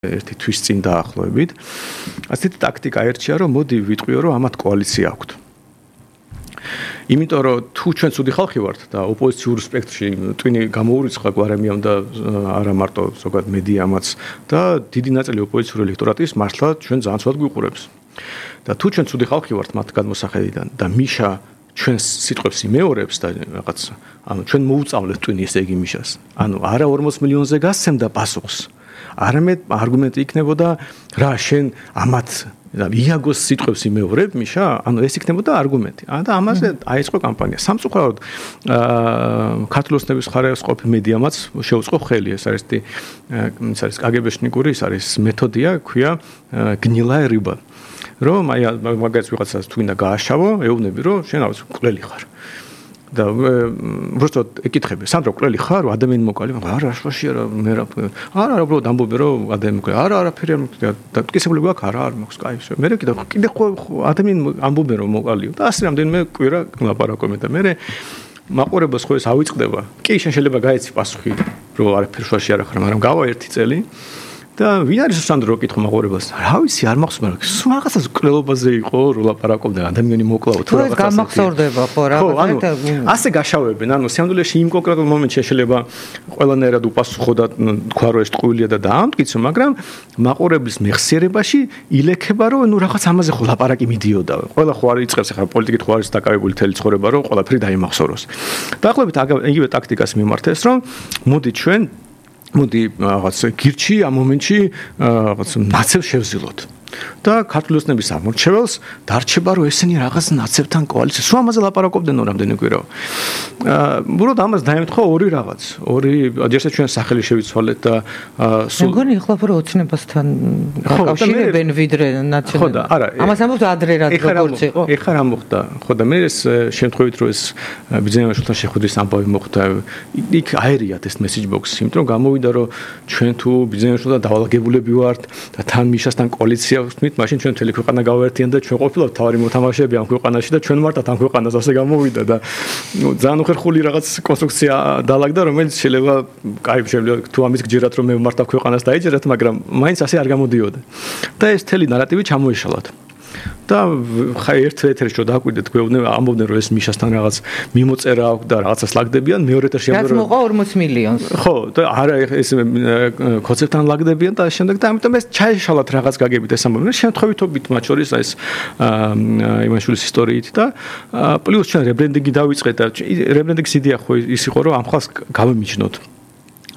ერთი თვის წინ დაახლოებით. ასეთი ტაქტიკა ერჩია, რომ მოდი ვიტყვიო, რომ ამათ კოალიცია აქვთ. იმიტომ რომ თუ ჩვენ ცუდი ხალხი ვართ და ოპოზიციურ სპექტრში ტვინი გამოურიცხა გვარემიამ და არა მარტო ზოგადად მედიამაც და დიდი ნაწილი ოპოზიციური ელექტორატის მართლა ჩვენ ძალიან ცუდად გვიყურებს. და თუ ჩვენ ცუდი ხალხი ვართ მათ გადმოსახედიდან და მიშა ჩვენს სიტყვებს იმეორებს და რაღაც ანუ ჩვენ მოუწავლეთ ტვინი ესე იგი მიშას. ანუ არა 40 მილიონზე გასცემდა პასუხს. არამედ არგუმენტი იქნებოდა რა შენ ამათ იაგოს სიტყვებს იმეორებ მიშა, ანუ ეს იქნებოდა არგუმენტი. და ამაზე აიწყო კამპანია. სამწუხაროდ ქართული ოცნების ხარეს ყოფი მედიამაც შეუწყო ხელი. ეს არის კგბ-შნიკური, ეს არის მეთოდია, ქვია გნილაერიბა. რომ აი მაგაც ვიღაცას თუ უნდა გააშავო, ეუბნები რომ შენ ავს მკვლელი ხარ. და უბრალოდ ეკითხები, სანდრო მკვლელი ხარ, ადამიანი მოკალი, არა, აშვაში არა, მე არა, უბრალოდ ამბობე რომ ადამიანი მკვლელი, არა, არაფერი არ და მტკიცებული გვაქვს, არა, არ მაქვს, კაი, მე კიდე ხო ადამიანი ამბობე რომ მოკალიო და ასე რამდენიმე კვირა ლაპარაკობ და მე მაყურებელს ხო ეს ავიწყდება. კი, შენ შეიძლება გაეცი პასუხი, რომ არაფერი შვაში არ ხარ, მაგრამ გავა ერთი წელი. და ვინ არის სანდრო კითხო მაყურებელს? რა ვიცი, არ მახსოვს, მაგრამ სულ რაღაცას მკვლელობაზე იყო, რომ ლაპარაკობდა, ადამიანი მოკლაო თუ რაღაცას. გამახსოვდება ხო რა. ასე გაშავებენ, ანუ სამდვილეში იმ კონკრეტულ მომენტში შეიძლება ყველანაირად უპასუხო და თქვა რომ ეს ტყუილია და დაამტკიცო, მაგრამ მაყურებლის მეხსიერებაში ილექება რომ ნუ რაღაც ამაზე ხო ლაპარაკი მიდიოდა. ყველა ხო არ იწყებს ახლა პოლიტიკით ხო არის დაკავებული თელი ცხოვრება, რომ ყველაფერი დაიმახსოვროს. დაახლოებით იგივე ტაქტიკას მიმართეს, რომ მოდი რაღაც გირჩი ამ მომენტში რაღაც ნაცევ შევზილოთ. და ქართული ოცნების ამორჩეველს დარჩება რომ ესენი რაღაც ნაცევთან კოალიციას სულ ამაზე ლაპარაკობდნენ რამდენი კვირა. უბრალოდ ამას დაემთხვა ორი რაღაც. ერთად ჩვენ სახელი შევიცვალეთ და მეგონი ეხლა უფრო ოცნებასთან გაკავშირებენ ვიდრე ნაციონალ. ამას ამბობთ ადრე რა როგორც იყო. ეხლა რა მოხდა? ხო და მე ეს შემთხვევით რომ ეს ბიზნესმენებთან შეხვედრის ამბავი მოხდა, იქ აერიათ ეს message box-ი, იმიტომ რომ გამოვიდა რომ ჩვენ თუ ბიზნესმენებთან დავალაგებულები ვართ და თან მიშასთან კოალიცია ვთქვით, მაშინ ჩვენ მთელი ქვეყანა გავაერთიან და ჩვენ ყოფილავთ თავარი მოთამაშეები ამ ქვეყანაში და ჩვენ ვართ ამ ქვეყანას ასე გამოვიდა და ძალიან უხერხული რაღაც კონსტრუქცია დაალაგდა, რომელიც შეიძლება თუ ამის გჯერათ რომ მე ვმართავ ქვეყანას დაიჯერათ, მაგრამ მაინც ასე არ გამოდიოდა. და ეს მთელი ნარატივი ჩამოეშალათ. და ხა ერთ-ერთი რო დააკვირდეთ გვეუბნები ამბობდნენ რომ ეს მიშასთან რაღაც მიმოწერა აქვს და რაღაცას ლაგდებიან მეორე ეტაპში ამბობენ რომ 40 მილიონს ხო და არა ეს კონცეპტთან ლაგდებიან და შემდეგ და ამიტომ ეს ჩაეშალათ რაღაც გაგებით ეს ამბობენ შემთხვევითობით მათ შორის ეს იმაშვილის ისტორიით და პლუს ჩვენ რებრენდინგი დავიწყეთ და რებრენდინგის იდეა ხო ის იყო რომ ამ ხალხს გავემიჯნოთ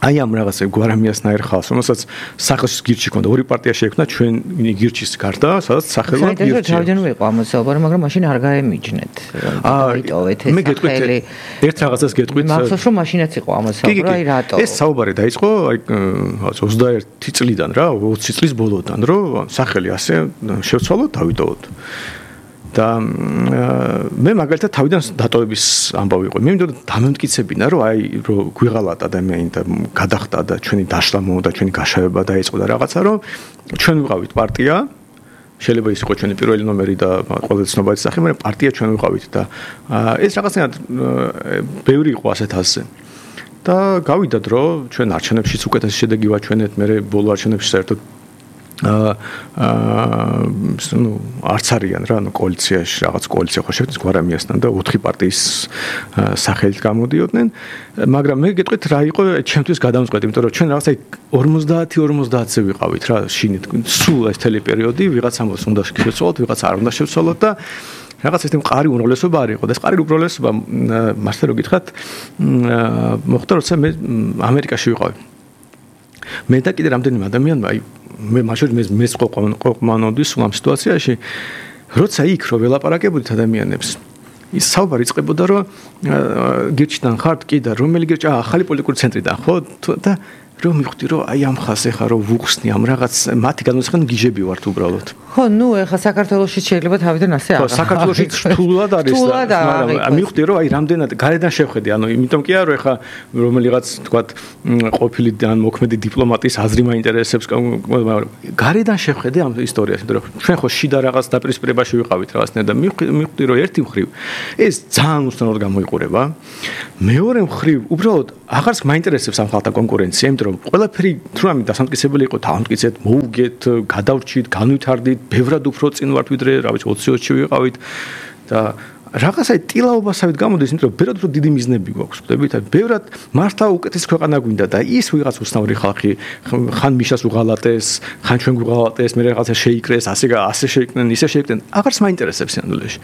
აი ამ რაღაცა გვარამიასნაირ ხალხს, რომელსაც სახელს გირჩი ქონდა, ორი პარტია შეექმნა ჩვენ გირჩის გარდა, სადაც სახელად გირჩი. საერთოდ თავიდან ვიყო ამასაუბარი, მაგრამ მაშინ არ გაემიჯნეთ. დაიტოვეთ ეს სახელი. ერთ რაღაცას გეტყვით. მახსოვს რომ მაშინაც იყო ამასაუბარი, აი რატო? ეს საუბარი დაიწყო აი 21 წლიდან რა, 20 წლის ბოლოდან, რომ სახელი ასე შევცვალოთ, დავიტოვოთ. და მე მაგალითად თავიდან დატოვების ამბავი იყო. მე მინდოდა დამემტკიცებინა, რომ აი რომ გვიღალათ ადამიანი და გადახდა და ჩვენი დაშლა და ჩვენი გაშავება დაიწყო და რაღაცა, რომ ჩვენ ვიყავით პარტია, შეიძლება ის იყო ჩვენი პირველი ნომერი და ყველაზე ცნობადი სახე, მაგრამ პარტია ჩვენ ვიყავით და ეს რაღაცნაირად ბევრი იყო ასეთაზე. და გავიდა დრო, ჩვენ არჩევნებშიც უკეთესი შედეგი ვაჩვენეთ, მე ბოლო არჩევნებში საერთოდ არც არიან რა, კოალიციაში რაღაც კოალიცია ხო შექმნეს გვარამიასთან და 4 პარტიის სახელით გამოდიოდნენ, მაგრამ მე გეტყვით რა იყო ჩემთვის გადამწყვეტი, იმიტომ რომ ჩვენ რაღაცა 50-50-ზე ვიყავით რა, შინით სულ ეს თელი პერიოდი ვიღაც ამბობს უნდა შევცვალოთ, ვიღაც არ უნდა შევცვალოთ და რაღაც ეს მყარი უმრავლესობა არ იყო და ეს მყარი უმრავლესობა მართლა რო გითხრათ მოხდა როცა მე ამერიკაში ვიყავი. მე და კიდე რამდენიმე ადამიანმა აი მე მაშინ მე ყოყმანოდი სულ ამ სიტუაციაში, როცა იქ რო ველაპარაკებოდით ადამიანებს, ის საუბარი იწყებოდა რომ გირჩიდან ხართ კი და რომელი გირჩი ახალი პოლიტიკური ცენტრიდან ხო და რომ მივხვდი რომ აი ამ ხალხს ეხა რომ ვუხსნი ამ რაღაც მათი განმოცხადებული გიჟები ვართ უბრალოდ. ხო, ნუ ეხა საქართველოში შეიძლება თავიდან ასე ხო, საქართველოში რთულად არის და მაგრამ მივხვდი რომ აი რამდენად გარედან შევხედე, ანუ იმიტომ კი არა რომ ეხა რომელიღაც თქვათ ყოფილი ან მოქმედი დიპლომატის აზრი მაინტერესებს, გარედან შევხედე ამ ისტორიას, იმიტომ რომ ჩვენ ხო შიდა რაღაც დაპირისპირებაში ვიყავით რაღაცნაირად და მივხვდი რომ ერთი მხრივ ეს ძალიან უცნაურად გამოიყურება. მეორე მხრივ უბრალოდ აღარც მაინტერესებს ამ ხალხთან კონკურენცია, იმიტომ რომ რომ ყველაფერი თუნდაც დასამტკიცებელი იყო, დავამტკიცეთ, მოუგეთ, გადავრჩით, განვითარდით, ბევრად უფრო წინ ვართ ვიდრე, რა ვიცი 20-ში ვიყავით და რაღაცა ტილაობასავით გამოდის, იმიტომ რომ ბევრად უფრო დიდი მიზნები გვაქვს, ხვდებით? ბევრად მართლა უკეთეს ქვეყანა გვინდა და ის ვიღაც უცნაური ხალხი ხან მიშას უღალატეს, ხან ჩვენ გვღალატეს, მე რაღაცა შეიკრეს, ასე შეიკრნენ, ისე შეიკრნენ, აღარც მაინტერესებს სინამდვილეში.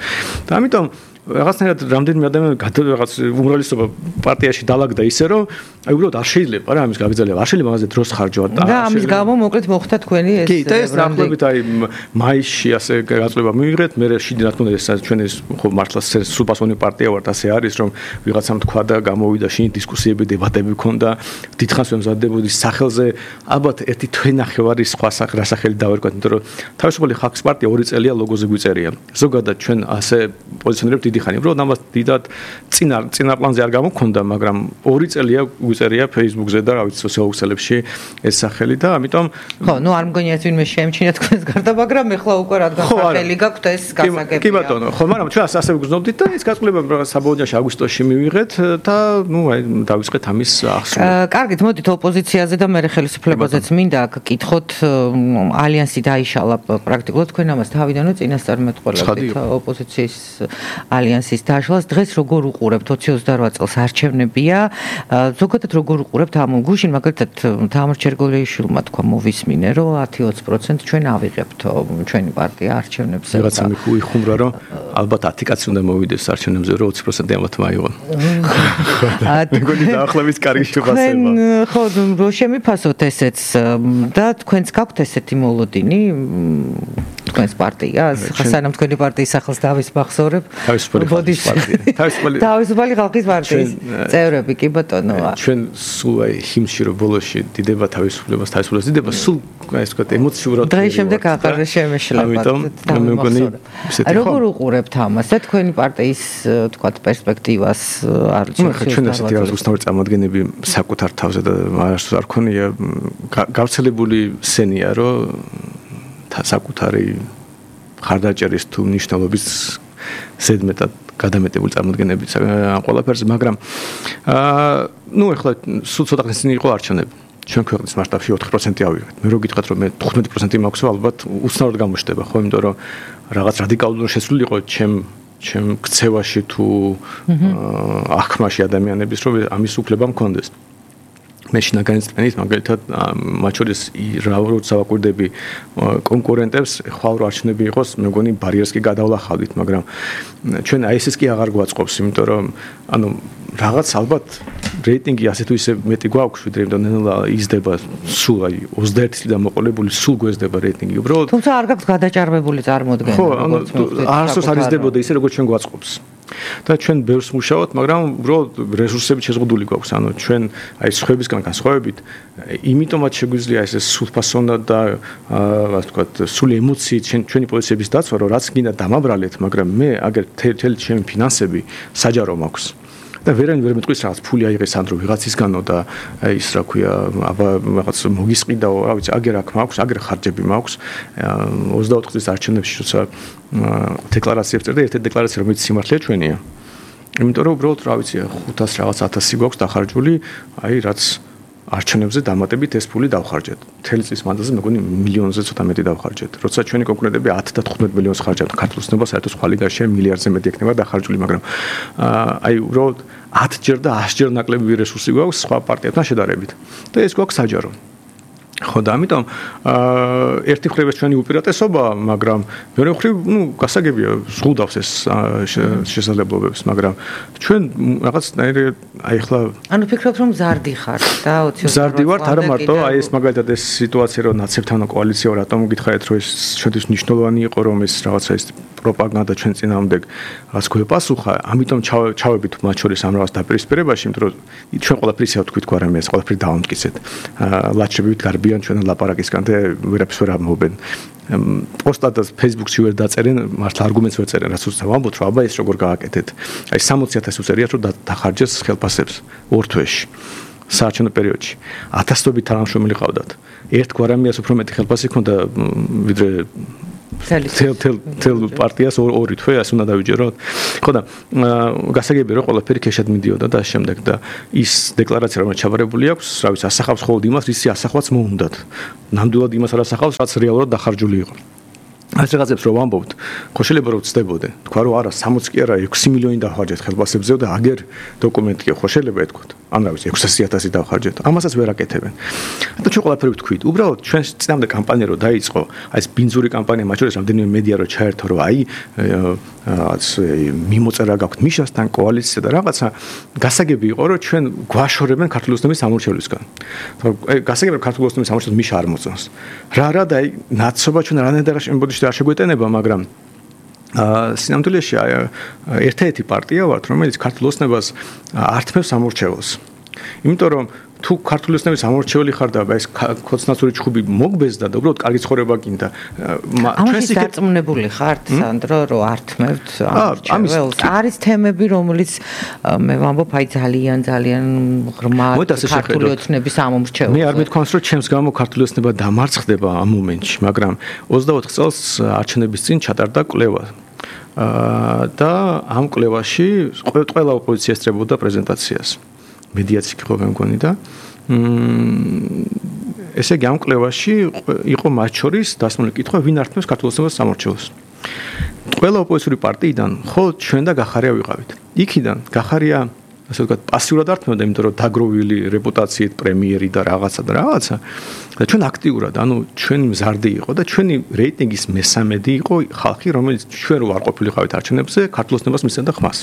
და ამიტომ რაღაცნაირად რამდენიმე ადამიანი რაღაც უმრავლესობა პარტიაში დალაგდა ისე რომ აი უბრალოდ არ შეიძლება რა ამის გაგრძელება, არ შეიძლება მაგაზე დროს ხარჯავთ და ამის გამო მოკლედ მოხდა თქვენი ეს კი და ეს დაახლოებით აი მაისში ასე გაწყვეტილება მიიღეთ, მე შიდი რა თქმა უნდა ეს ჩვენი ხო მართლა სრულფასოვანი პარტია ვართ, ასე არის რომ ვიღაცამ თქვა და გამოვიდა შინ დისკუსიები, დებატები ქონდა, დიდხანს ვემზადებოდი სახელზე, ალბათ ერთი თვენახევარი სხვა რასახელი დავერქვათ, იმიტომ რომ თავისუფალი ხალხის პარტია 2 წელია ლოგოზე გვიწერია. ზოგადად ჩვენ ასე პოზიციონირებთ დიდი ხანი, უბრალოდ ამას დიდად წინა პლანზე არ გამოგქონდა, მაგრამ 2 წელია გვიწერია Facebook-ზე და რა ვიცი სოციალურ ქსელებში ეს სახელი და ამიტომ ხო, ნუ არ მგონია ეს ვინმე შეემჩნია თქვენს გარდა, მაგრამ ეხლა უკვე რადგან სახელი გაქვთ ეს გასაგებია. კი ბატონო, ხო, მაგრამ ჩვენ ასე ვგრძნობდით და ეს გაწყვეტილება საბოლოოში აგვისტოში მივიღეთ და ნუ აი დავიწყეთ ამის ახსნა. კარგით, მოდით ოპოზიციაზე და მე ხელისუფლებაზეც მინდა გკითხოთ, ალიანსი დაიშალა პრაქტიკულად თქვენ ამას თავიდანვე წინასწარმეტყველებით ოპოზიციის ალიანსის დაშლას. დღეს როგორ უყურებთ 2028 წელს არჩევნებია, ზოგადად როგორ უყურებთ ამ გუშინ მაგალითად თამარ ჩერგოლიაშვილმა თქვა მოვისმინე რომ 10-20% ჩვენ ავიღებთ ჩვენი პარტია არჩევნებზე. რაღაცა მიხუმრა რომ ალბათ 10 კაცი უნდა მოვიდეს არჩევნებზე რომ 20% ამათ მაიღონ. მეგონი დაახლოებით კარგი შეფასება. ხო, რო შემიფასოთ ესეც და თქვენც გაქვთ ესეთი მოლოდინი თქვენს პარტიას, სანამ თქვენი პარტიის სახელს დავისმახსოვრებ. თავისუფალი ხალხის პარტიის წევრები კი ბატონოა. ჩვენ სულ აი ჰიმში რო ბოლოში დიდება თავისუფლებას დიდება სულ აი ეს ვთქვათ ემოციურად დღეს შემდეგ აღარ შემეშლება. როგორ უყურებთ ამას და თქვენი პარტიის ვთქვათ პერსპექტივას ჩვენ ასეთი რაღაც უცნაური წარმოადგენები საკუთარ თავზე და არასდროს არ ქონია გავრცელებული სენია რომ საკუთარი ხარდაჭერის თუ ნიშნულობის ზედმეტად გადამეტებული წარმოდგენები ამ ყველაფერზე, მაგრამ ნუ ეხლა სულ ცოტა ხნის წინ იყო არჩევნები. ჩვენ ქვეყნის მასშტაბში 4% ავიღეთ. მე რო გითხრათ რომ მე 15% მაქვს, ალბათ უცნაურად გამოჩნდება, ხო, იმიტომ რომ რაღაც რადიკალურად შესული იყო ჩემ ქცევაში თუ აღქმაში ადამიანების, რომ ამის უფლება მქონდეს. მე შინაგანი წვენით მაგალითად მათ შორის როცა ვაკვირდები კონკურენტებს ხვალ რო არჩევნები იყოს მე მგონი ბარიერს კი გადავლახავდით, მაგრამ ჩვენ აი ესეც კი აღარ გვაწყობს, იმიტომ რომ ანუ რაღაც ალბათ რეიტინგი ასე თუ ისე მეტი გვაქვს, ვიდრე ნელა იზრდება სულ აი 21 წლიდან მოყოლებული სულ გვეზდება რეიტინგი უბრალოდ. თუმცა არ გაქვს გადაჭარბებული წარმოდგენა. ხო, ანუ არასდროს არ იზრდებოდა ისე როგორც ჩვენ გვაწყობს. და ჩვენ ბევრს მუშაობთ, მაგრამ უბრალოდ რესურსები შეზღუდული გვაქვს. ანუ ჩვენ აი სხვებისგან განსხვავებით, იმიტომაც შეგვიძლია ეს სულფასონად და ასე ვთქვათ, სული ემოციით ჩვენი პოზიციების დაცვა, რომ რაც გინდა დამაბრალეთ, მაგრამ მე აგერ თელი ჩემი ფინანსები საჯარო მაქვს. და ვერანი ვერ მეტყვის რაღაც ფული აიღეს ანდრო ვიღაცისგანო და ის რა ქვია, აბა რაღაც მოგისყიდაო, რა ვიცი, აგერ აქ მაქვს, აგერ ხარჯები მაქვს. 24 წლის არჩევნებში როცა დეკლარაციებს წერდა, ერთ-ერთი დეკლარაცია რომელიც სიმართლეა ჩვენია. იმიტომ რომ უბრალოდ რა ვიცი, 500 რაღაც 1000 გვაქვს დახარჯული, აი რაც არჩევნებზე დამატებით ეს ფული დავხარჯეთ. მთელი წლის მანდატზე მეგონი მილიონზე ცოტა მეტი დავხარჯეთ. როცა ჩვენი კონკურენტები 10 და 15 მილიონს ხარჯავთ, ქართულ ცნობა საერთოდ სხვა ლიგაში მილიარდზე მეტი ექნება დახარჯული, მაგრამ აი უბრალოდ 10 ჯერ და 100 ჯერ ნაკლები რესურსი გვაქვს სხვა პარტიებთან შედარებით. და ეს გვაქვს საჯარო. ხო და ამიტომ ერთი მხრივ ეს ჩვენი უპირატესობა, მაგრამ მეორე მხრივ, ნუ გასაგებია, ზღუდავს ეს შესაძლებლობებს, მაგრამ ჩვენ რაღაცნაირი აი ახლა ანუ ფიქრობთ რომ ზარდი ხართ და 20 ზარდი ვართ, არა მარტო, აი ეს მაგალითად ეს სიტუაცია რომ ნაცებთან კოალიციაა, რატომ გითხარით რომ ეს ჩვენთვის მნიშვნელოვანი იყო რომ ეს რაღაცა ეს პროპაგანდა ჩვენ წინააღმდეგ რაც გვეპასუხა, ამიტომ ჩავებით მათ შორის ამ რაღაც დაპირისპირებაში, იმიტომ რომ ჩვენ ყველაფერს ავთქვით გვარამე ეს ყველაფერი დავამტკიცეთ. ლაჩრებით გარბიან ჩვენ ლაპარაკისგან და ვერაფერს ვერ ამბობენ. პოსტადას Facebook-ში ვერ დაწერენ, მართლა არგუმენტს ვერ წერენ, რაც უცებ ამბობთ, რომ აბა ეს როგორ გააკეთეთ. აი 60,000 უწერიათ რომ დახარჯეს ხელფასებს ორ თვეში. საარჩევნო პერიოდში 1000-ობით თანამშრომელი ყავდათ. ერთ გვარამიას უფრო მეტი ხელფასი ჰქონდა ვიდრე თელ პარტიას ორი თვე ასე უნდა დავიჯეროთ. ხო და გასაგებია რომ ყველაფერი ქეშად მიდიოდა და შემდეგ და ის დეკლარაცია რომელიც ჩაბარებული აქვს, რა ვიცი, ასახავს ხოლმე იმას, ისი ასახვაც მოუნდათ. ნამდვილად იმას არ ასახავს, რაც რეალურად დახარჯული იყო. ეს რაღაცებს რომ ვამბობთ, ხო შეიძლება რომ ვწდებოდე. თქვა რომ არა 60 კი არა 6 მილიონი დავხარჯეთ ხელფასებზე და აგერ დოკუმენტია, ხო შეიძლება ეთქვათ. ან რა ვიცი 600.000 დავხარჯეთ. ამასაც ვერ აკეთებენ. და ჩვენ ყველაფერი ვთქვით. უბრალოდ ჩვენ წინამდე კამპანია რო დაიწყო, აი ეს ბინძური კამპანია მათ შორის რამდენიმე მედია რო ჩაერთო, რომ აი რაც მიმოწერა გაქვთ მიშასთან კოალიციასა და რაღაცა გასაგები იყო რომ ჩვენ გვაშორებენ ქართული ოცნების სამორჩევლისგან. აი გასაგები რომ ქართული ოცნების სამორჩევლოს მიშა არ მოწონს. რა და აი ნაცობა ჩვენ რანაირად შემბოდიშ არ შეგვეტენება, მაგრამ სინამდვილეში ერთ-ერთი პარტია ვართ, რომელიც ქართულ ოცნებას ართმევს სამორჩევლოს. იმიტომ რომ თუ ქართული ოცნების სამორჩეველი ხარ და ეს ქოცნაცური ჩხუბი მოგბეზდა და უბრალოდ კარგი ცხოვრება გინდა, ჩვენს დარწმუნებული ხართ, სანდრო, რომ ართმევთ ამორჩეველს? არის თემები, რომელიც მე ვამბობ, აი ძალიან ღრმა ქართული ოცნების სამორჩეველს. მე არ მეთქვამს, რომ ჩემს გამო ქართული ოცნება დამარცხდება ამ მომენტში, მაგრამ 24 წელს არჩევნების წინ ჩატარდა კვლევა. და ამ კვლევაში ყველა ოპოზიცია ესწრებოდა პრეზენტაციას. მედიაცი ხო მე მგონი და ესე იგი ამ კვლევაში იყო მათ შორის დასმული კითხვა, ვინ ართმევს ქართულ ოცნებას სამორჩეველს. ყველა ოპოზიციური პარტიიდან ხო ჩვენ და გახარია ვიყავით. იქიდან გახარია ასე ვთქვათ პასიურად ართმევდა, იმიტომ რომ დაგროვილი რეპუტაციით პრემიერი და რაღაცა და ჩვენ აქტიურად, ანუ ჩვენი მზარდი იყო და ჩვენი რეიტინგის მესამედი იყო ხალხი, რომელიც ჩვენ რო არ ყოფილიყავით არჩევნებზე, ქართულ ოცნებას მისცემდა ხმას.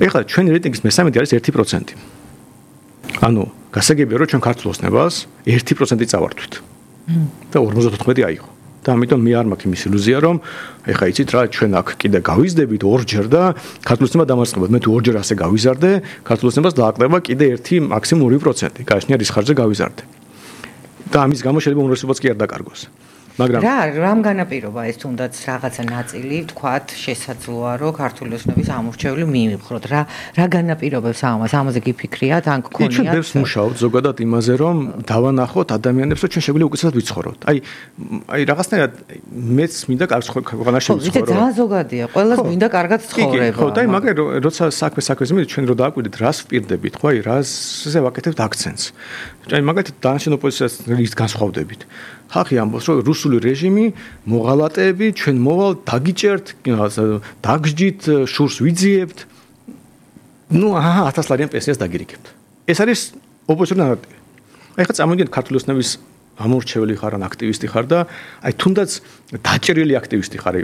ეხლა ჩვენი რეიტინგის მესამედი არის 1%. ანუ გასაგებია რომ ჩვენ ქართულ ოცნებას 1% წავართვით. და 54 აიღო. და ამიტომ მე არ მაქვს იმის ილუზია რომ ეხლა იცით რა ჩვენ აქ კიდე გავიზდებით ორჯერ და ქართულ ოცნებას დამარცხებად. მე თუ ორჯერ ასე გავიზარდე, ქართულ ოცნებას დააკლება კიდე 1 მაქსიმუმ 2%. გააჩნია რის ხარჯზე გავიზარდე. და ამის გამო შეიძლება უნივერსიტეტს კი არ დაკარგოს. მაგრამ რამ განაპირობა ეს თუნდაც რაღაცა ნაწილი თქვათ შესაძლოა რომ ქართული ოცნების ამორჩეველი მიიღოთ რა განაპირობებს ამაზე გიფიქრიათ ან გქონიათ ჩვენ ბევრს მუშაობთ ზოგადად იმაზე რომ დავანახოთ ადამიანებს რომ ჩვენ შეგვიძლია უკეთესად ვიცხოვროთ აი რაღაცნაირად მეც მინდა კარგ ქვეყანაში ვიცხოვრო ძალიან ზოგადია ყველას მინდა კარგად ცხოვრება ხო და მაგრამ როცა საქმეს მივიდეთ ჩვენ რო დააკვირდით რას ვპირდებით ხო აი რაზე ვაკეთებთ აქცენტს აი მაგალითად დანარჩენ ოპოზიციას ის განსხვავდებით ხალხი ამბობს რომ რუსული რეჟიმი მოღალატეები ჩვენ მოვალ დაგიჭერთ დაგჯდით შურს ვიძიებთ ნუ 1000 ლარიან პენსიას დაგირიქებთ ეს არის ოპოზიციური ნარატივი აი ხა წამოვიდეთ ქართული ოცნების ამორჩეველი ხარ ან აქტივისტი ხარ და აი თუნდაც დაჭერილი აქტივისტი ხარ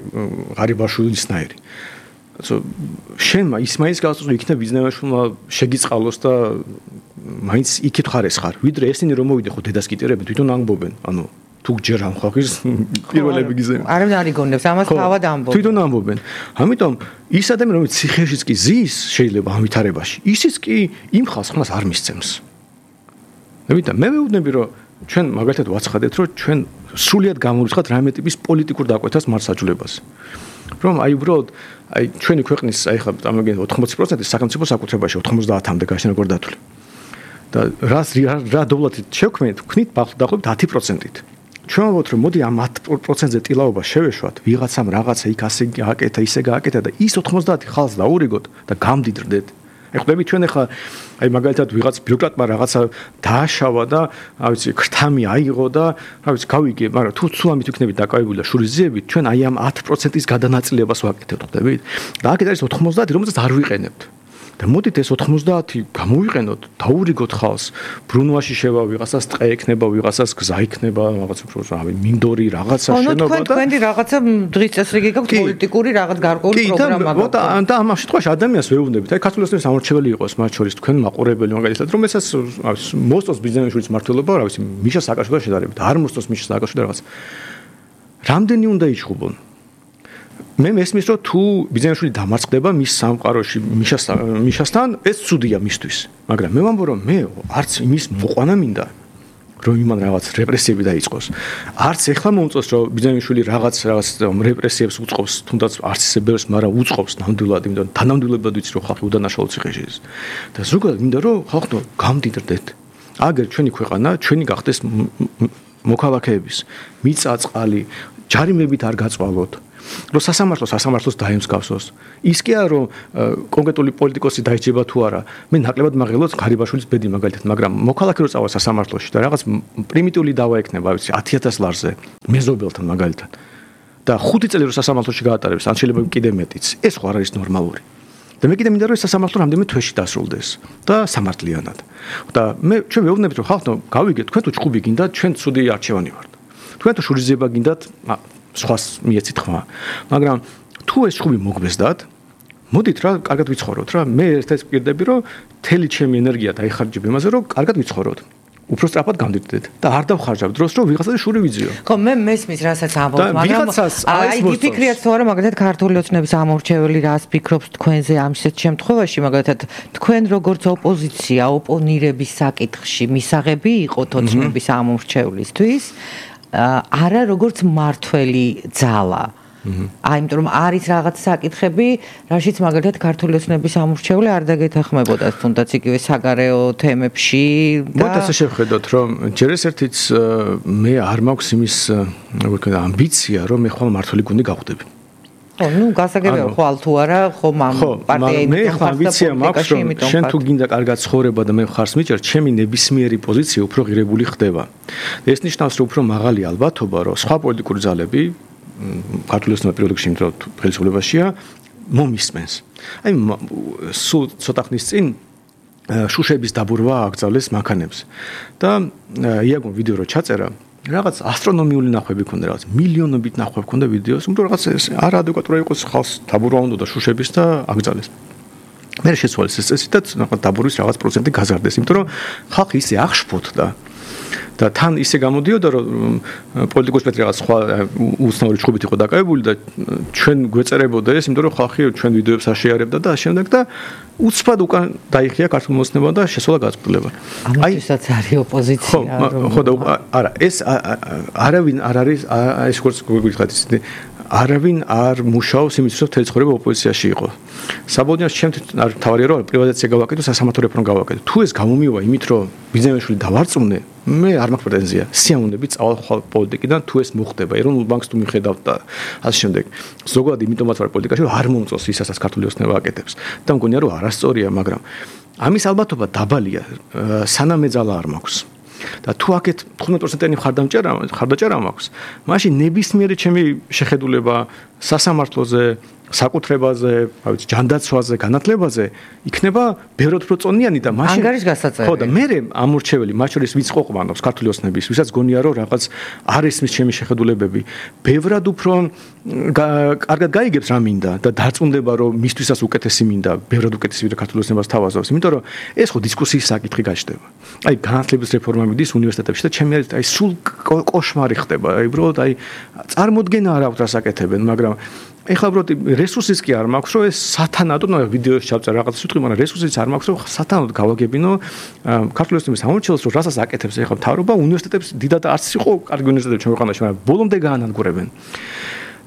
ღარიბაშვილისნაირი შენმა ისმაილის გასწრებული იქნება ბიზნესმა შეგიწყალოს და მაინც იქით ხარეს ხარ ვიდრე ესენი რომ მოვიდე ხო დედას კიტერებენ თვითონ ამბობენ ანუ თუ ჯერ ამ ხალხის პირველები გიზემ არ არიგონებს ამას თავად ამბობენ თვითონ ამბობენ ამიტომ ის ადამიანი რომელიც ციხეშიც კი ზის შეიძლება ამ ვითარებაში ისიც კი იმ ხალხს ხმას არ მისცემს მე ვეუბნები რომ ჩვენ მაგალითად ვაცხადეთ რომ ჩვენ სრულიად გამოვიწყოთ რამე ტიპის პოლიტიკურ დაკვეთას მარცხაჯულებას რომ აი უბრალოდ აი ჩვენი ქვეყნის აი ხა ამაგენ 80% სახელმწიფო საკუთრებაში 90-მდე გაშენა გორდათული და რა დოვლათით შევქმნით ვქნით დაახლოებით 10%-ით ჩვენ ვთქვით რომ მოდი ამ 10%-ზე ტილაობა შევეშვათ ვიღაცამ რაღაცა იქ ასე გააკეთა ისე გააკეთა და ის 90 ხალხს დაურიგოთ და გამდიდრდეთ ეხლები ჩვენ ახლა აი მაგალითად ვიღაც ბიუროკრატმა რაღაცა დააშავა და რა ვიცი ქრთამი აიღო და რა ვიცი გავიგე მაგრამ თუ სულამით ვიქნებით დაკავებული და შურიზიებით ჩვენ აი ამ 10%-ის გადანაწილებას ვაკეთებთ ხდებით და აქეთ არის 90 რომელსაც არ ვიყენებთ და მოდით ეს 90 გამოვიყენოთ დაურიგოთ ხალხს ბრუნვაში შევა ვიღაცას ტყე ექნება ვიღაცას გზა იქნება რაღაც უფრო რავი მინდორი რაღაცა შენობა და თქვენი რაღაცა დღის წესრიგი გაქვთ პოლიტიკური რაღაც გარკვეული პროგრამა გაქვთ და ამ შემთხვევაში ადამიანს ვეუბნებით აი ქართული ოცნების სამორჩეველი იყოს მათ შორის თქვენ მაყურებელი მაგალითად რომელსაც მოსწონს ბიზნესის მართლობა რა ვიცი მიშა სააკაშვილთან შედარებით არ მოსწონს მიშა სააკაშვილი რაღაც რამდენი უნდა იჭხუბონ მე მესმის რომ თუ ბიზნესული დამარცხდება მის სამყაროში მიშასთან ეს ცუდია მისთვის მაგრამ მე ვამბობ რომ მე არც იმის მოყვანა მინდა რომ იმან რაღაც რეპრესიები დაიწყოს არც ეხლა მომწონს რომ ბიზნესული რაღაც რეპრესიებს უწყობს თუნდაც არც ისე ბევრს მაგრამ უწყობს ნამდვილად იმიტომ თანამდებობად ვიცი რომ ხალხი უდანაშაულო ციხეშიც და ზოგადად მინდა რომ ხალხო გამდიდრდეთ აგერ ჩვენი ქვეყანა ჩვენი გახდეს მოქალაქეების მიწა წყალი ჯარიმებით არ გაწვალოთ. რომ სასამართლოს დაემსგავსოს. ის კი არა რომ კონკრეტული პოლიტიკოსი დაიჭება თუ არა. მე ნაკლებად მაღელოთ გარიბაშვილის ბედი მაგალითად, მაგრამ მოქალაქე რო წავა სასამართლოში და რაღაც პრიმიტიული დავა ექნება, ვიცი, 10000 ლარზე მეზობელთან მაგალითად. და 5 წელი რო სასამართლოში გაატარებს, ან შეიძლება კიდე მეტიც. ეს ხო არ არის ნორმალური. და მე კიდე მინდა რომ ეს სასამართლო რამდენიმე თვეში დასრულდეს და სამართლიანად. და ჩვენ ვეუბნებით რომ ხალხო, გავიგეთ, თქვენ თუ ჭუბი გინდათ, ჩვენ ცუდი არჩევანი ვართ. თქვენ თუ შურიზება გინდათ, სხვას მიეცით ხმა. მაგრამ თუ ეს ჭუბი მოგბესდათ, მოდით რა, კარგად ვიცხოვროთ რა. მე ერთ-ერთ ვკირდები რომ თელი ჩემი ენერგია დაიხარჯებ იმაზე, რომ კარგად ვიცხოვროთ. უფრო სწრაფად გამდიდეთ და არ დავხარჯავ დროს რომ ვიღაცაზე შური ვიძიო. ხო, მე მესმის რასაც ამბობთ, მაგრამ აი გიფიქრიათ თუ არა, მაგალითად ქართული ოცნების ამორჩეველი რას ფიქრობს თქვენზე ამ შემთხვევაში, მაგალითად თქვენ როგორც ოპოზიცია ოპონირების საკითხში მისაღები იყოთ ოცნების ამორჩევლისთვის, არა როგორც მართველი ძალა. აი, იმიტომ რომ არის რაღაც საკითხები, რაშიც მაგალითად ქართული ოცნების ამორჩეული არ დაგეთანხმებოდა, თუნდაც იგივე საგარეო თემებში და მოდით ასე შევხედოთ, რომ ჯერ ეს ერთიც მე არ მაქვს იმის, როგორ ვთქვა, ამბიცია, რომ მე ხვალ მართველი გუნდი გავხდები. ხო, ნუ გასაგებია ხვალ თუ არა, ხომ ამ პარტია მე ხვალ ამბიცია მაქვს, რომ შენ თუ გინდა კარგად ცხოვრება და მე ხარს მიჭერ, ჩემი ნებისმიერი პოზიცია უფრო ღირებული ხდება. და ეს ნიშნავს, რომ უფრო მაღალი ალბათობა, რომ სხვა პოლიტიკური ძალები ქართული ოცნება პირველ რიგში იმიტომ ხელისუფლებაშია მომისმენს. აი სულ ცოტა ხნის წინ შუშების დაბურვა აკრძალეს მანქანებს და იაგო ვიდეო რო ჩაწერა რაღაც ასტრონომიული ნახვები ქონდა, რაღაც მილიონობით ნახვები ქონდა ვიდეოს, იმიტომ რაღაც არაადეკვატურად იყოს ხალხს დაბურვა უნდა და შუშების და აკრძალეს. მე შეცვალეს ეს წესი და დაბურვის რაღაც პროცენტი გაზარდეს, იმიტომ რომ ხალხი ისე აღშფოთდა და თან ისე გამოდიოდა რომ პოლიტიკოსი რაღაც სხვა უცნაური ჭუბით იყო დაკავებული და ჩვენ გვეწერებოდა ეს, იმიტომ რომ ხალხი ჩვენ ვიდეოებს აშეარებდა და შემდეგ და უცბად უკან დაიხია ქართულ მოსნებმა და შესვლა გაწყვეტილება. ამისაცაც არის ოპოზიცია. ხო და არა, ეს არავინ არ არის ეს როგორც გიგიხართ ისე არავინ არ მუშაობს იმისთვის, რომ თელი ცხოვრება ოპოზიციაში იყო. საბოლოოდ ჩემთვის არ თავარია რომ პრივატიზაცია გავაკეთო, სასამართლო რეფორმა გავაკეთო. თუ ეს გამომივა იმით, რომ ბიზნესმენები დავარწმუნე, მე არ მაქვს პრეტენზია. სიამოვნებით წავალ ხვალ პოლიტიკიდან, თუ ეს მოხდება, ეროვნულ ბანკს თუ მიხედავთ და ასე შემდეგ. ზოგადად იმიტომაც ვარ პოლიტიკაში, რომ არ მომწონს ისაც ქართული ოცნება აკეთებს. და მგონია რომ არასწორია, მაგრამ ამის ალბათობა დაბალია, სანამ ეძალა არ მაქვს. და თუ აქეთ 15%-იანი ხარდაჭერა მაქვს, მაშინ ნებისმიერი ჩემი შეხედულება სასამართლოზე, საკუთრებაზე, ავიც ჯანდაცვაზე, განათლებაზე იქნება ბევრად უფრო წონიანი და მაშინ ანგარიშ გასაწევი. ხო და მე ამორჩეველი, მათ შორის ვიც ყოფნობს ქართული ოცნების, ვისაც გონია რომ რაღაც არ ესმის ჩემი შეხედულებები, ბევრად უფრო კარგად გაიგებს რა მინდა და დარწმუნდება რომ მისთვისაც უკეთესი მინდა, ბევრად უკეთესი ვიდრე ქართული ოცნებას თავაზობს, იმიტომ რომ ეს ხო დისკუსიის საკითხი გაჩნდება. აი განათლების რეფორმა მიდის უნივერსიტეტებში და ჩემი აი სულ კოშმარი ხდება, აი უბრალოდ აი წარმოდგენა არ აქვს რას აკეთებენ, მაგრამ ეხლა უბრალოდ რესურსის კი არ მაქვს, რომ ეს სათანადო ვიდეოს ჩავწერ რაღაც სიტყვი, მაგრამ რესურსიც არ მაქვს, რომ სათანადოდ გავაგებინო ქართული ოცნების ამორჩევლს, რომ რასაც აკეთებს ეხლა მთავრობა, უნივერსიტეტებს დიდად არც იყო კარგი უნივერსიტეტები ჩვენ ქვეყანაში, მაგრამ ბოლომდე გაანადგურებენ.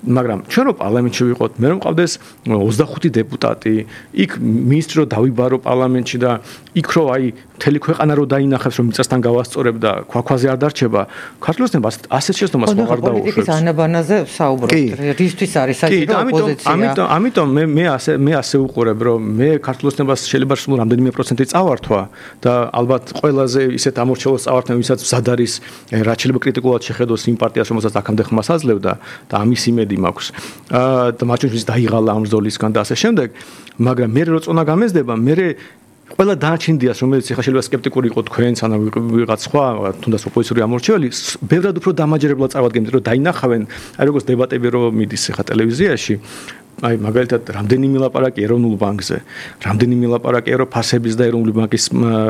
მაგრამ ჩვენ რო პარლამენტში ვიყოთ, მე რომ მყავდეს 25 დეპუტატი, იქ მინისტრი რო დავიბარო პარლამენტში და იქ რო აი მთელი ქვეყანა რო დაინახებს, რომ მიწასთან გავასწორებ და ქვაქვაზე არ დარჩება, ქართული ოცნება ასეთ შეცდომას აღარ დაუშვებს. პოლიტიკის ანაბანაზე ვსაუბრობთ. რისთვის არის საჭირო ოპოზიცია? ამიტომ მე ასე უყურებ, რომ მე ქართული ოცნებას შეიძლება სულ რამდენიმე პროცენტი წავართვა და ალბათ ყველაზე ისეთ ამორჩევლს წავართვა, ვისაც მზად არის რაც შეიძლება კრიტიკულად შეხედოს იმ პარტიას, რომელსაც აქამდე ხმას აძლევდა და ამის იმედი მაქვს. და მათ შორის დაიღალა ამ ბრძოლისგან და ასე შემდეგ, მაგრამ მე რო წონა გამეზდება, მე ყველა დარჩენდიას, რომელიც ახლა შეიძლება სკეპტიკური იყო თქვენს, ან ვიღაც სხვა, თუნდაც ოპოზიციური ამორჩეველი, ბევრად უფრო დამაჯერებლად წავადგენთ, რომ დაინახავენ, აი როგორც დებატები რო მიდის ახლა ტელევიზიაში, აი მაგალითად, რამდენი ლაპარაკი ეროვნულ ბანკზე, რამდენი ლაპარაკი ევროფასების და ეროვნული ბანკის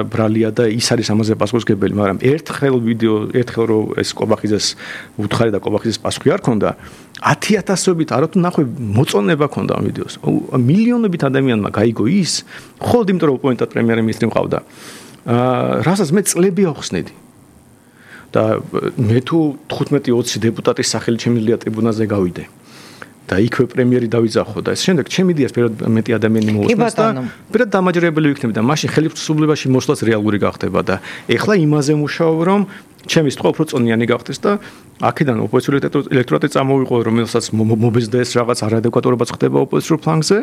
ბრალია და ის არის ამაზე პასუხისმგებელი, მაგრამ ერთხელ რო ეს კობახიძეს უთხარი და კობახიძეს პასუხი არ ქონდა, 10,000-ობით არათუ ნახვე მოწონება ქონდა ამ ვიდეოს. მილიონობით ადამიანმა გაიგო ის, ხოლმე იმიტომ რომ ოპონენტად პრემიერ-მინისტრი მყავდა. რასაც მე წლები ავხსნედი. და მე თუ 15-20 დეპუტატის სახელი შემიძლია ტრიბუნაზე გავიდე. და იქვე პრემიერი დავიძახო და შემდეგ ჩემი იდეას პირად მეტი ადამიანი მოусმენს და პირად დამაჯერებელი ვიქნები და მაშინ ხელისუფლებაში მოსვლაც რეალური გახდება და ეხლა იმაზე მუშაობ რომ ჩემი სიტყვა უფრო წონიანი გახდეს და აქედან ოპოზიციური ელექტორატი წამოვიყო, რომელსაც მობეზდეს რაღაც არადეკვატურობა ხდება ოპოზიციურ ფლანგზე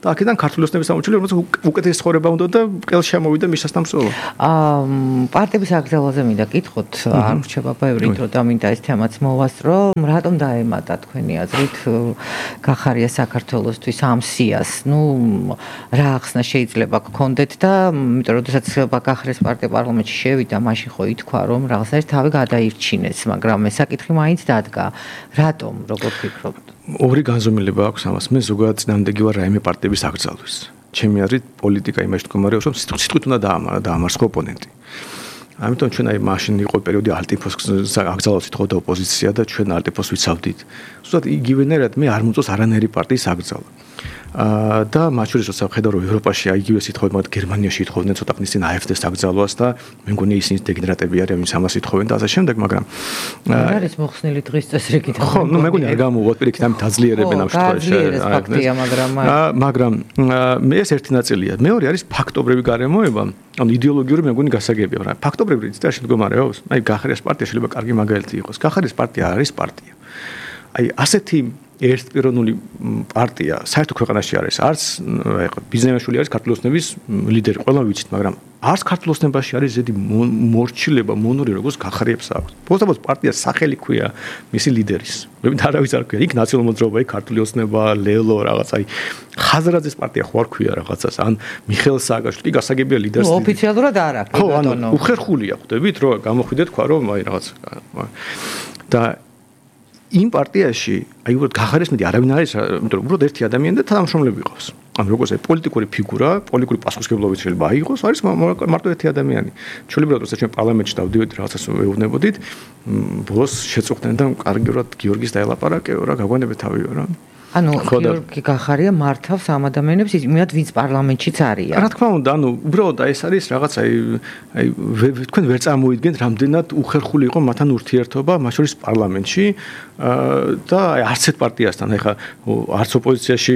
და აქედან ქართული ოცნების სამმართველი, რომელსაც უკეთესი ცხოვრება უნდა და ყელ შემოვიდა მისასთან მსვლელობა. პარტიების აკრძალვაზე მინდა კითხოთ, არ რჩება ბევრი დრო და მინდა ეს თემაც მოვასწრო, რატომ დაემატა თქვენი აზრით გახარია საქართველოსთვის ამ სიას? რა ახსნა შეიძლება გქონდეთ და იმიტომ რომ შესაძაც გახარიას პარტია პარლამენტში შევიდა, მაშინ ხო ითქვა რომ რაღაცა თავი გადაირჩინეს, მაგრამ ეს საკითხი მაინც დადგა. რატომ, როგორ ფიქრობთ? ორი განზომილება აქვს ამას. მე ზოგადად წინააღმდეგი ვარ რაიმე პარტიების აკრძალვის. ჩემი აზრით პოლიტიკა იმაში მდგომარეობს, რომ სიტყვით უნდა დაამარცხო ოპონენტი. ამიტომ ჩვენ მაშინ იყო პერიოდი ალტიფოს აკრძალავს ითხოვდა ოპოზიცია და ჩვენ ალტიფოს ვიცავდით. ზუსტად იგივენერად მე არ მოწონს არანაირი პარტიის აკრძალვა. და მათ შორის როცა ხედავ რომ ევროპაში აიგივეს ითხოვენ, მაგრამ გერმანიაში ითხოვდნენ ცოტა ხნის წინ AfD-ს აკრძალვას და მე მგონი ისინი დეგენერატები არიან, ვინც ამას ითხოვენ და ასე შემდეგ, მაგრამ არ არის მოხსნილი დღის წესრიგით. ხო, მე მგონი არ გამოვუვათ პირიქით ამით აძლიერებენ ამ შემთხვევაში. მაგრამ მე ეს ერთი ნაწილია. მეორე არის ფაქტობრივი გარემოება, ანუ იდეოლოგიური მე მგონი გასაგებია, მაგრამ ფაქტობრივი ციტაში მდგომარეობს. აი გახარიას პარტია შეიძლება კარგი მაგალითი იყოს. გახარიას პარტია არის პარტია. აი ასეთი ერთპიროვნული პარტია საერთო ქვეყანაში არის. არც ბიზნესმენშვილი არის ქართული ოცნების ლიდერი, ყველა ვიცით, მაგრამ არც ქართული ოცნებაში არის ზედი მორჩილება, მონური, როგორც გახარიებს აქვს. პოსტაბოს პარტიას სახელი ქვია მისი ლიდერის. მე არავის არ ქვია, იქ ნაციონალური მოძრაობა, იქ ქართული ოცნება, ლელო რაღაცა, აი ხაზრაძის პარტია ხო არ ქვია რაღაცას, ან მიხეილ სააკაშვილი, კი გასაგებია ლიდერს. ოფიციალურად არ აქვს. ხო, ანუ უხერხულია ხვდებით, რომ გამოხვიდეთ თქვა, რომ აი რაღაც და იმ პარტიაში აი უბრალოდ გახარიას მეტი არავინ არის, იმიტომ რომ უბრალოდ ერთი ადამიანი და თანამშრომლები ყავს. ანუ როგორც აი პოლიტიკური ფიგურა, პოლიტიკური პასუხისმგებლობით შეიძლება აიღოს, არის მარტო ერთი ადამიანი. ჩვეულებრივად როცა ჩვენ პარლამენტში დავდივით რაღაცას ვეუბნებოდით, ბოლოს შეწუხდნენ და კარგიურად გიორგის დაელაპარაკეო რა, გაგვანებე თავიო რა. ანუ გიორგი გახარია მართავს ამ ადამიანებს, იმათ ვინც პარლამენტშიც არიან. რა თქმა უნდა, ანუ უბრალოდ ეს არის რაღაც აი თქვენ ვერ წარმოიდგენთ რამდენად უხერხული იყო მათთან ურთიერთობა მათ შორის პარლამენტში და აი არც ერთ პარტიასთან, ეხლა არც ოპოზიციაში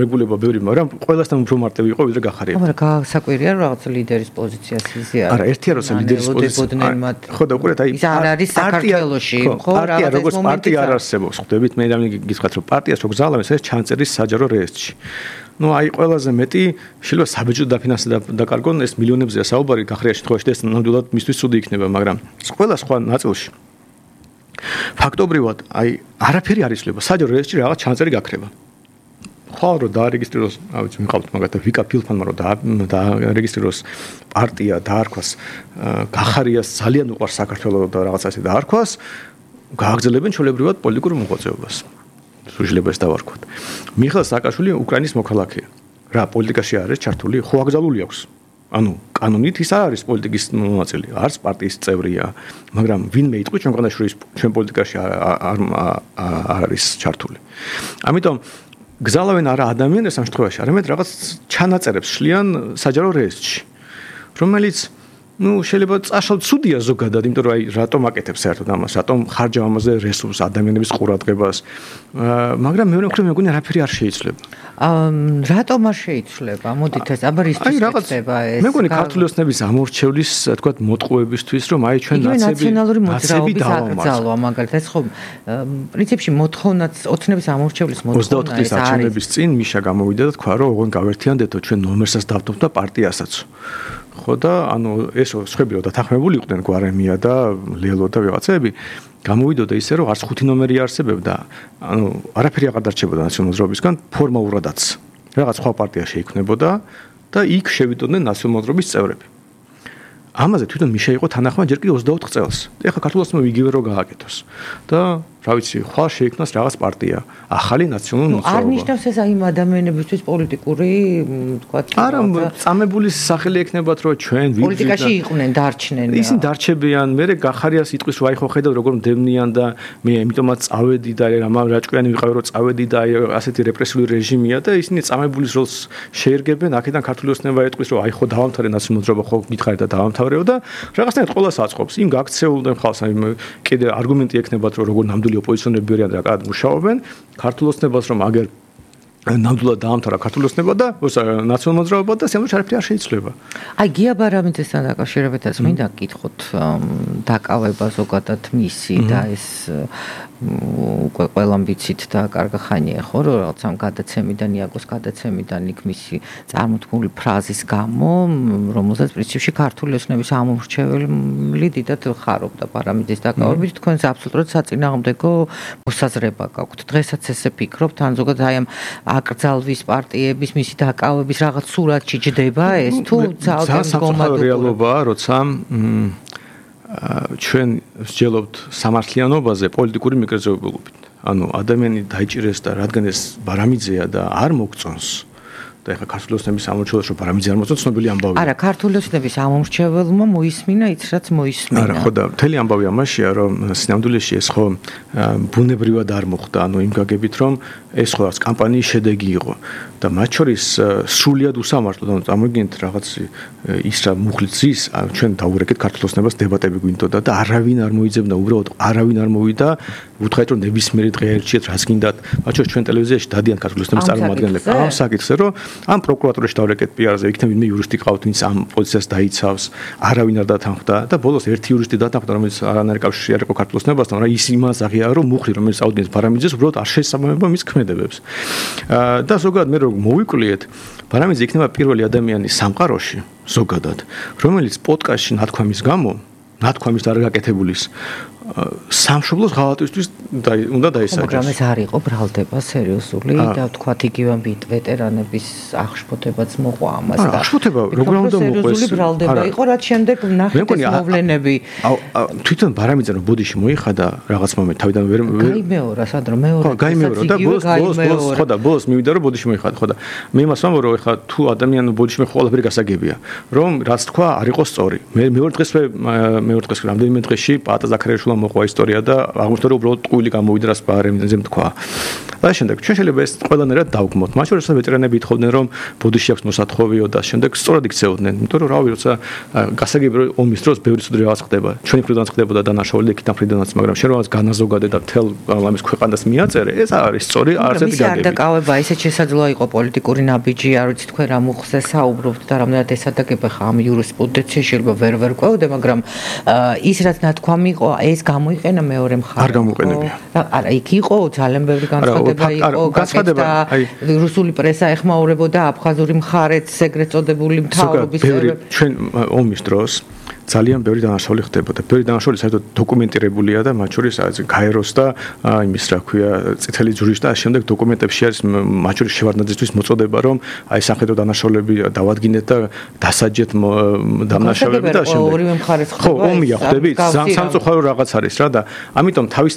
მეგულება ბევრი, მაგრამ ყველასთან უფრო მარტივი იყო ვიდრე გახარია. მაგრამ გასაკვირია რომ რაღაც ლიდერის პოზიციას იზიარებს. არა, ერთია როცა ლიდერის პოზიცია. ხო და უყურეთ აი ის არ არის საქართველოში, ხო, პარტია როგორც პარტია არ არსებობს, ხვდებით? მე გითხრათ რომ პარტიას რო გზალავენ ეს ჩანწერის საჯარო რეესტრში. ნუ აი ყველაზე მეტი შეიძლება საბეჭდო დაკარგონ ეს მილიონებზეა საუბარი გახარიას შემთხვევაში და ეს ნამდვილად მისთვის ცუდი იქნება, მაგრამ ყველა სხვა ნაწილში ფაქტობრივად აი არაფერი არ იცვლება, საჯარო რეესტრში რაღაც ჩანწერი გაქრება. ხო რომ დაარეგისტრიროს, რა ვიცი, მიყავთ მაგათაც ვიკა ფილფანმა რომ დაარეგისტრიროს პარტია დაარქვას გახარიას ძალიან უყვარს საქართველოს და რაღაცა ესე დაარქვას, გააგრძელებენ ჩვეულებრივად პოლიტიკურ მოღვაწეობას. შეიძლება ეს დავარქვათ. მიხეილ სააკაშვილი უკრაინის მოქალაქეა. რა პოლიტიკაში არის ჩართული? ხო აკრძალული აქვს. ანუ კანონით ის არ არის პოლიტიკის მონაწილე, არც პარტიის წევრია, მაგრამ ვინმე იტყვი ჩვენ განაშროის ჩვენ პოლიტიკაში არ არის ჩართული. ამიტომ გზალავენ არა ადამიანებს ამ შემთხვევაში, არამედ რაღაც ჩანაწერებს შლიან საჯარო რეესტრში, რომელიც შეიძლება წაშალ ცუდია ზოგადად, იმიტომ რომ აი რატომ აკეთებს საერთოდ ამას, რატომ ხარჯავ ამაზე რესურსს, ადამიანების ყურადღებას, მაგრამ მეორე მხრივ მე მგონი არაფერი არ შეიცვლება. რატომ არ შეიცვლება? მოდით ეს აბარისთვის ხდება ეს. მე მგონი ქართული ოცნების ამორჩევლის, თქვათ, მოტყუებისთვის, რომ აი ჩვენ ნაციონალური მოძრაობის აკრძალვა, მაგალითად, ეს ხო პრინციპში მოთხოვნაც ოცნების ამორჩევლის მოთხოვნა 24 წლის არჩევნების წინ მიშა გამოვიდა და თქვა, რომ ოღონდ გავერთიანდეთო ჩვენ ნომერსაც დავდობთ და პარტიასაც. ხო და ანუ ეს სხვები რომ დათანხმებული იყვნენ გვარემია და ლელო და ვიღაცები გამოვიდოდა ისე რომ არც 5 ნომერი არსებობდა, ანუ არაფერი აღარ დარჩებოდა ნაციონალურ მოძრაობისგან ფორმალურადაც. რაღაც სხვა პარტია შეიქმნებოდა და იქ შევიდოდნენ ნაციონალურ მოძრაობის წევრები. ამაზე თვითონ მიშა იყო თანახმა ჯერ კი 24 წელს. ეხლა ქართულ ოცნებამ იგივე რო გააკეთოს. და რა ვიცი, ხვალ შეიქმნას რაღაც პარტია, ახალი ნაციონალური მოძრაობა. არ ნიშნავს ეს აი ადამიანებისთვის პოლიტიკური, თქვათ, არა, წამებულის სახელი ექნებათ, რომ ჩვენ პოლიტიკაში იყვნენ, დარჩნენ. ისინი დარჩებიან, მე გახარიას იტყვის, რომ აი ხო ხედავ როგორ მდევნიან და მე ამიტომაც წავედი და რაჭკვიანი ვიყავი, რომ წავედი და აი ასეთი რეპრესიული რეჟიმია და ისინი წამებულის როლს შეერგებენ, აქედან ქართული ოცნება ეტყვის, რომ აი ხო დავამთავრე ნაციონალური მოძრაობა, ხო გითხარით და დავამთავრეო და რაღაცნაირად ყველას აწყობს. იმ გაქცეულდნენ ხალხს, აი კიდე არგუმენტი ექნებათ, რომ როგორ ნამდვილი ოპოზიციონერები არიან და კადრ მუშაობენ, ქართულ ოცნებას რომ აგერ ნამდვილად დაამთავრა ქართული ოცნება და ნაციონალურ მოძრაობა და სიამოვნებით არაფერი არ შეიცვლება. აი გია ბარამიძესთან დაკავშირებითაც მინდა გითხოთ დაკავება ზოგადად მისი და ეს უკვე ყველამ ვიცით და კარგი ხანია ხო რომ რაღაც ამ გადაცემიდან იაგოს გადაცემიდან იქ მისი წარმოთქმული ფრაზის გამო რომელსაც პრინციპში ქართული ოცნების ამომრჩეველი დიდად ხარობდა ბარამიძის დაკავებით თქვენს აბსოლუტურად საწინააღმდეგო მოსაზრება გაქვთ დღესაც ესე ფიქრობთ ან ზოგადად აი ამ აკრძალვის პარტიების მისი დაკავების რაღაც სურათი ჯდება ეს თუ ძალგან სამწუხარო რეალობაა როცა ჩვენ ვსჯელობთ სამართლიანობაზე პოლიტიკური მიკროზეობებით. ანუ ადამიანი დაიჭირეს და რადგან ეს ბარამიძეა და არ მოგწონს და ეხლა ქართული ოცნების ამორჩეველს რომ ბარამიძე არ მოწონს ცნობილი ამბავია. არა, ქართული ოცნების ამორჩეველმა მოისმინა ის რაც მოისმინა. არა, ხო და მთელი ამბავი ამაშია რომ სინამდვილეში ეს ხო ბუნებრივად არ მოხდა, ანუ იმ გაგებით რომ ეს ხო არც კამპანიის შედეგი იყო და მათ შორის სრულიად უსამართლოდ ანუ წარმოგიდგენთ რაღაც ის რა მუხლით ზის ჩვენ დაურეკეთ ქართულ ოცნებას დებატები გვინდოდა და არავინ არ მოიძებნა უბრალოდ არავინ არ მოვიდა უთხრეთ რომ ნებისმიერი დღე ერჩიეთ რაც გინდათ მათ შორის ჩვენ ტელევიზიაში დადიან ქართულ ოცნების წარმომადგენლები ამ საკითხზე რომ ამ პროკურატურაში დავრეკეთ პიარზე იქნებ ვინმე იურისტი ყავთ ვინც ამ პოზიციას დაიცავს არავინ არ დათანხმდა და ბოლოს ერთი იურისტი დათანხმდა რომელიც არანაირი კავშირი არ იყო ქართულ ოცნებასთან მაგრამ ის იმას აღიარა რომ მუხლი რომელიც აუდიენს ბარამიძეს უბრალოდ არ შეესაბამება მის ქმედებებს და ზოგადად მე რომ მოვიკვლიეთ ბარამიძე იქნება პირველი ადამიანი სამყაროში ზოგადად რომელიც პოდკასტში ნათქვამის გამო ნათქვამის არ გაკეთებულის სამშობლოს ღალატისთვის უნდა დაისაჯოს. მაგრამ ეს არ იყო ბრალდება სერიოზული და ვთქვათ იგივე ვეტერანების აღშფოთებაც მოყვა ამას და აღშფოთება როგორ უნდა მოყვეს? სერიოზული ბრალდება იყო რაც შემდეგ ნახეთ ეს მოვლენები. თვითონ ბარამიძე რომ ბოდიში მოიხადა რაღაც მომენტ თავიდან ვერ გაიმეორა სადრო მეორე გაიმეორა და ბოლოს ხო და ბოლოს მივიდა რომ ბოდიში მოიხადა ხო და მე იმას ვამბობ რომ ეხლა თუ ადამიანი ბოდიში მე ყველაფერი გასაგებია რომ რაც თქვა არ იყო სწორი. მე მეორე დღეს რამდენიმე დღეში პაატა ზაქარიაშვილმა მოყვა ისტორია და აღმოჩნდა რომ უბრალოდ ტყუილი გამოვიდა რას ბარამიძემ თქვა. და შემდეგ ჩვენ შეიძლება ეს ყველანაირად დავგმოთ. მათ შორის ვეტერანები ეთხოვდნენ რომ ბოდიში აქვს მოსათხოვიო და შემდეგ სწორად იქცეოდნენ. იმიტომ რომ რავი როცა გასაგები რომ ომის დროს ბევრი ცუდი რაღაც ხდება. ჩვენი მხრიდანაც ხდებოდა დანაშაული და იქიდან მხრიდანაც, მაგრამ შენ რაღაც განაზოგადე და თელ ამის ქვეყანას მიაწერე, ეს არის სწორი არცეთი გაგები. და კავება ისეთ შესაძლოა იყო პოლიტიკური ნაბიჯი, არ ვიცი თქვენ რა მოხდა საუბრობთ და რამდენად ესადაგება ხა ამ იურისპრუდენციაში შეიძლება ვერ ყვევდე, მაგრამ ის რაც ნათქვამი იყო, ეს გამოიყენა მეორე მხარეს. არ გამოიყენებია. არა, იქ იყო ძალიან ბევრი განცხადება იყო, გაკეთდა რუსული პრესა ეხმაურებოდა აფხაზური მხარეც ეგრეთ წოდებული მთავრობის ჩვენ ომის დროს ძალიან ბევრი დანაშაული ხდებოდა. ბევრი დანაშაული საერთოდ დოკუმენტირებულია და მათ შორის გაეროს და იმის რა ქვია წითელი ჯვრის და შემდეგ დოკუმენტებში არის მათ შორის შევარდნაძისთვის მოწოდება რომ აი სამხედრო დანაშაულები დავადგინეთ და დასაჯეთ დამნაშავეები და შემდეგ ორივე მხარეს ხო ომია ხდებით სამწუხარო რაღაც არის რა და ამიტომ თავის